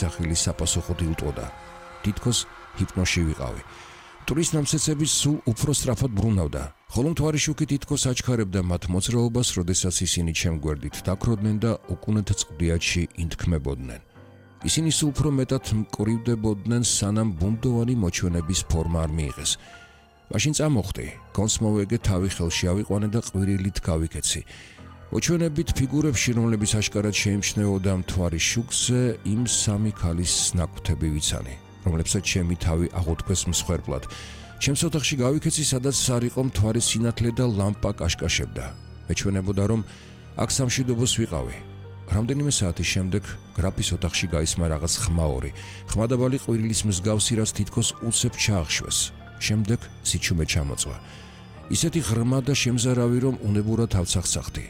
სახელი საპასუხოდ ილტვოდა. თითქოს ჰიპნოში ვიყავი. მტვრის ნამცეცები სულ უფრო სწრაფად ბრუნავდა, ხოლო მთვარი შუქი თითქოს აჩქარებდა მათ მოძრაობას, როდესაც ისინი ჩემ გვერდით დაქროდნენ და უკუნეთ წყდიათში ინთქმებოდნენ. ისინი სულ უფრო მეტად მკვრივდებოდნენ, სანამ ბუნდოვანი მოჩვენების ფორმა არ მიიღეს. მაშინ წამოხდი, გონს მოვეგე, თავი ხელში ავიყვანე და ყვირილით გავიქეცი. მოჩვენებით ფიგურებში, რომლებიც აშკარად შეიმჩნეოდა მთვარის შუქზე, იმ სამი ქალის ნაკვთები ვიცანი, რომლებსაც ჩემი თავი აღუთქვეს მსხვერპლად. ჩემს ოთახში გავიქეცი, სადაც არ იყო მთვარის სინათლე და ლამპა კაშკაშებდა. მეჩვენებოდა, რომ აქ სამშვიდობოს ვიყავი. რამდენიმე საათის შემდეგ გრაფის ოთახში გაისმა რაღაც ხმაური, ხმადაბალი ყვირილის მსგავსი, რაც თითქოს უსებ ჩაახშვეს. შემდეგ სიჩუმე ჩამოწვა. ისეთი ღრმა და შემზარავი, რომ უნებურად ავცახცახდი.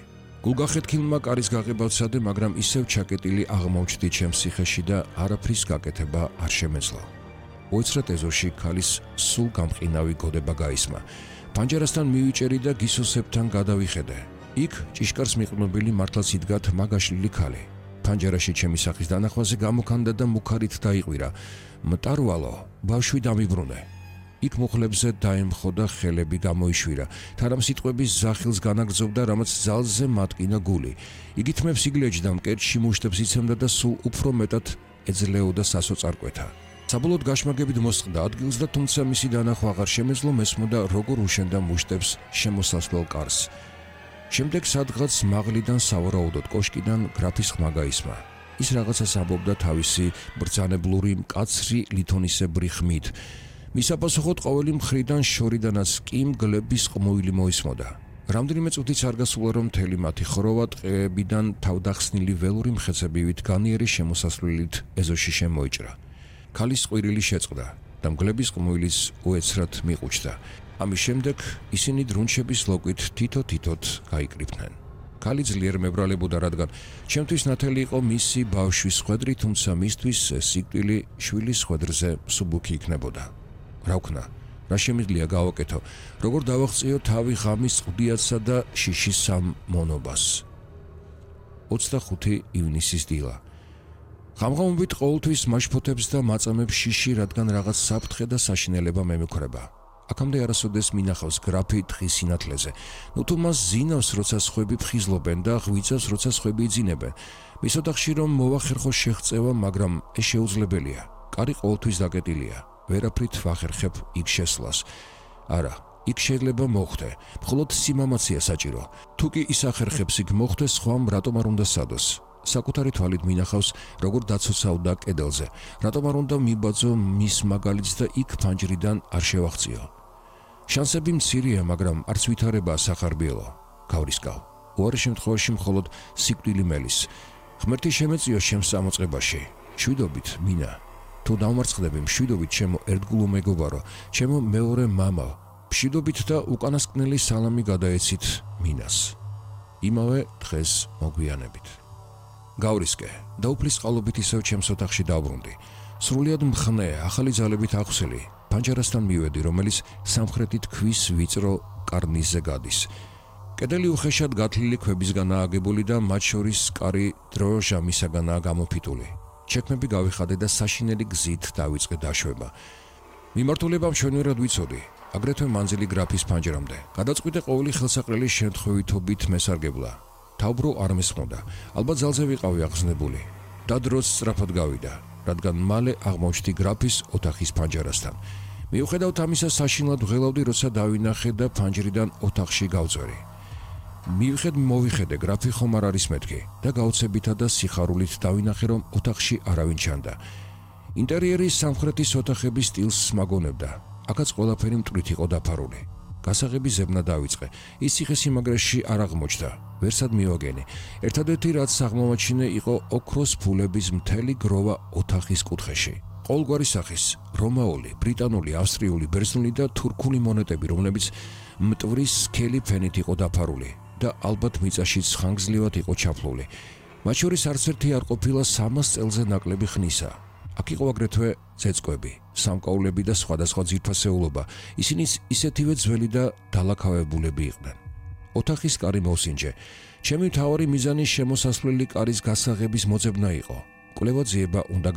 გულგახეთქილმა კარის გაღება ვცადე, მაგრამ ისევ ჩაკეტილი აღმოჩნდი ჩემს ციხეში და არაფრის გაკეთება არ შემეძლო. უეცრად ეზოში ქალის სულ გამყინავი გოდება გაისმა. პანჯერასთან მივიჭერი და გისოსებთან გადავიხედე. იქ ჭიშკარს მიყნობილი მართლაც იდგათ მაგაშლილი ქალი. პანჯერაში ჩემი სახის დანახვაზე გამოქანდა და მუქარით დაიყვირა. მტარვალო, ბავშვი დამიბრუნე. იქ მუხლებზე დაემხო და ხელები გამოიშვირა. თარამ სიტყვების ზახილს განაგრძობდა, რამაც ძალზე მატკინა გული. იგი თმებს იგლეჯდა, მკერდში მუშტებს იცემდა და სულ უფრო მეტად ეძლეოდა სასოწარკვეთა. საბოლოოდ გაშმაგებით მოსწყდა ადგილს და თუმცა მისი დანახვა აღარ შემეძლო, მესმოდა როგორ უშენდა მუშტებს შემოსასვლელ კარს. შემდეგ სადღაც მაღლიდან სავარაუდოდ კოშკიდან გრაფის ხმა გაისმა. ის რაღაცას ამბობდა თავისი ბრძანებლური მკაცრი ლითონისებრი ხმით. მის საპასუხოდ ყოველი მხრიდან შორიდანაც კი მგლების ყმუილი მოისმოდა. რამდენიმე წუთიც არ გასულა, რომ მთელი მათი ხროვა ტყეებიდან თავდახსნილი ველური მხეცებივით განიერი შემოსასვლელით ეზოში შემოიჭრა. ქალის ყვირილი შეწყდა და მგლების ყმუილის უეცრად მიყუჩდა. ამის შემდეგ ისინი დრუნჩების ლოკვით თითო-თითოდ გაიკრიფნენ. ქალი ძლიერ მებრალებოდა, რადგან ჩემთვის ნათელი იყო მისი ბავშვის ხვედრი, თუმცა მისთვის სიკვდილი შვილის ხვედრზე მსუბუქი იქნებოდა. რა ვქნა, რა შემიძლია გავაკეთო, როგორ დავაღწიო თავი ღამის წყდიათსა და შიშის სამ მონობას. 25 ივნისის დილა. ღამღამობით ყოველთვის მაშფოთებს და მაწამებს შიში, რადგან რაღაც საფრთხე და საშინელება მემექრება. აქამდე არასოდეს მინახავს გრაფი დღის სინათლეზე. ნუ თუ მას ზინავს, როცა სხვები ფხიზლობენ და ღვიძავს, როცა სხვები იძინებენ. მის ოთახში რომ მოვახერხო შეღწევა, მაგრამ ეს შეუძლებელია. კარი ყოველთვის დაკეტილია. ვერაფრით ვახერხებ იქ შესვლას. არა, იქ შეიძლება მოხვდე. მხოლოდ სიმამაცია საჭირო. თუ კი ის ახერხებს იქ მოხვდე, სხვამ რატომ არ უნდა სადოს? საკუთარი თვალით მინახავს, როგორ დაცოცავდა კედელზე. რატომ არ უნდა მიბაძო მის მაგალითს და იქ ფანჯრიდან არ შევაღწიო? შანსები მცირეა, მაგრამ არც ვითარებაა სახარბიელო. გავრისკავ. უარი შემთხვევაში მხოლოდ სიკვდილი მელის. ღმერთი შემეწიო ჩემს წამოწყებაში. მშვიდობით, მინა. თუ დავმარცხდები, მშვიდობით ჩემო ერთგულო მეგობარო, ჩემო მეორე მამა. მშვიდობით და უკანასკნელი სალამი გადაეცით მინას. იმავე დღეს მოგვიანებით. გავრისკე და უფლის წყალობით ისევ ჩემს ოთახში დავბრუნდი. სრულიად მხნე, ახალი ძალებით აღსილი. პანჯერასთან მივედი, რომელიც სამხრეთით ქვის ვიწრო კარნიზზე გადის. კედელი უხეშად გათლილი ქვებისგანაა აგებული და მათ შორის კარი დროჟამისაგანაა გამოფიტული. ჩექმები გავიხადე და საშინელი გზით დავიწყე დაშვება. მიმართულება მშვენივრად ვიცოდი, აგრეთვე მანძილი გრაფის პანჯერამდე. გადაწყვიტე ყოველი ხელსაყრელი შემთხვევითობით მესარგებლა. თავბრო არ მესხმოდა, ალბათ ძალზე ვიყავი აღზნებული. და დროც სწრაფად გავიდა, რადგან მალე აღმოჩნდი გრაფის ოთახის პანჯერასთან. მიუხედავად ამისა, საშინლად ვღელავდი, როცა დავინახე და პანჯრიდან ოთახში გავწვერი. მოვიხედე, გრაფი ხომ არ არის მეთქი და გაუცებითა და სიხარულით დავინახე, რომ ოთახში არავინ ჩანდა. ინტერიერის სამხრეთის ოთახების სტილს მაგონებდა. აქაც ყველაფერი მტვრით იყო დაფარული. გასაღები ზებნა დავიწყე. ის ციხესიმაგრეში არ აღმოჩნდა. ვერსად მივაგენი. ერთადერთი რაც აღმოვაჩინე იყო ოქროს ფულების მთელი გროვა ოთახის კუთხეში. ყოველგვარი სახის, რომაული, ბრიტანული, ავსტრიული, ბერძნული და თურქული მონეტები, რომლებიც მტვრის სქელი ფენით იყო დაფარული და ალბათ მიწაშიც ხანგრძლივად იყო ჩაფლული. მათ შორის არც ერთი არ ყოფილა 300 წელზე ნაკლები ხნისა. აქ იყო აგრეთვე წეწყვები, სამკაულები და სხვადასხვა ძვირფასეულობა. ისინიც ისეთივე ძველი და დალაქავებულები იყვნენ. ოთახის კარი მოვსინჯე. ჩემი მთავარი მიზანი შემოსასვლელი კარის გასაღების მოძებნა იყო. კვლევა ძიება უნდა